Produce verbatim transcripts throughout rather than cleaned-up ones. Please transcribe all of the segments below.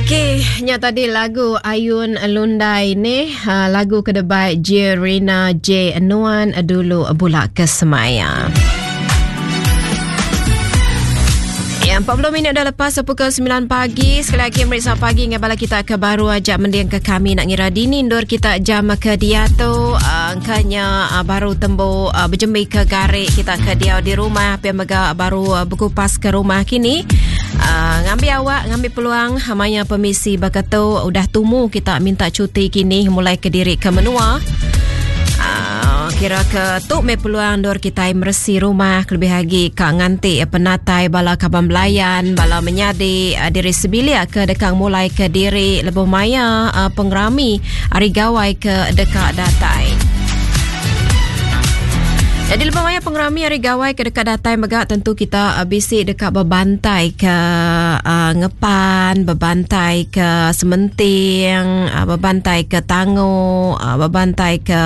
Okey, nya tadi lagu Ayun Lundai ni, uh, lagu kedebai Jerina J Nuan dulu bulak ke semaya. Ya, empat puluh minit dah lepas pukul sembilan pagi. Sekali lagi meriksa pagi dengan bala kita ke baru ajak mending ke kami nak ngira dini ndur kita jam ke dia tu. Uh, angkanya uh, baru tembu uh, berjembi ke garik kita ke dia di rumah, pia mega baru uh, berkupas ke rumah kini. Uh, ngambil awak, ngambil peluang maya permisi bakatu udah tumu kita minta cuti kini mulai ke diri ke menua. Uh, kira ke tu me peluang dor kita meresi rumah lebih lagi ka nganti penatai bala kaban belayan bala menyadi uh, diri sebilik ke dekang mulai ke diri lebuh maya uh, pengerami hari gawai ke dekat datai. Jadi lebuh maya pengerami hari gawai ke dekat datai megak tentu kita uh, bisi dekat berbantai ke uh, ngepan, berbantai ke sementing, uh, berbantai ke tango, uh, berbantai ke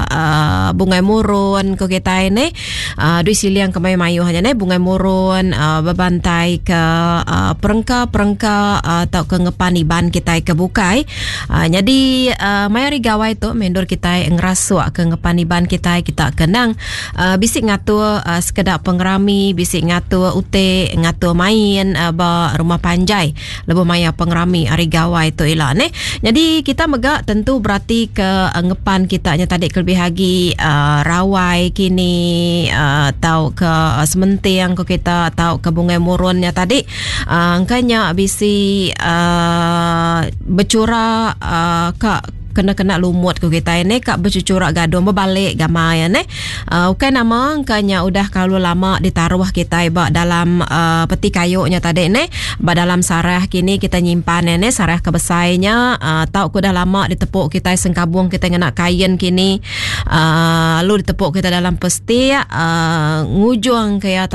uh, bungai murun ko kita ini. Uh, dui siliang ke mayu-mayu hanya ni bungai murun, uh, berbantai ke uh, perengka-perengka uh, atau ke ngepan iban kita ke bukai. Uh, jadi uh, maya hari gawai tu mendur kita ngerasuk ke ngepan iban kita, kita kenang Uh, bisik ngatur uh, sekedar pengerami, bisik ngatur ute, ngatur main uh, ba rumah panjai lebuh maya pengerami hari gawai tu ila ne. Jadi kita megak tentu berarti ke uh, ngepan kita nya tadi kelebih lagi uh, rawai kini uh, tau ke uh, sementing ke kita tau ke bungai murunnya tadi uh, angkanya bisi uh, bercura uh, ka kena-kena lumut ke kita ini kak bercucurak gadung berbalik gamai ya ne. Uh, bukan nama angkanya udah kalau lama ditaruh kita ba dalam uh, peti kayunya tadi ne, ba dalam sarah kini kita nyimpan ne, sarah kebesainya uh, tau ku dah lama ditepuk kita sengkabung kita ngena kain kini uh, lalu ditepuk kita dalam pesti uh, ngujung kaya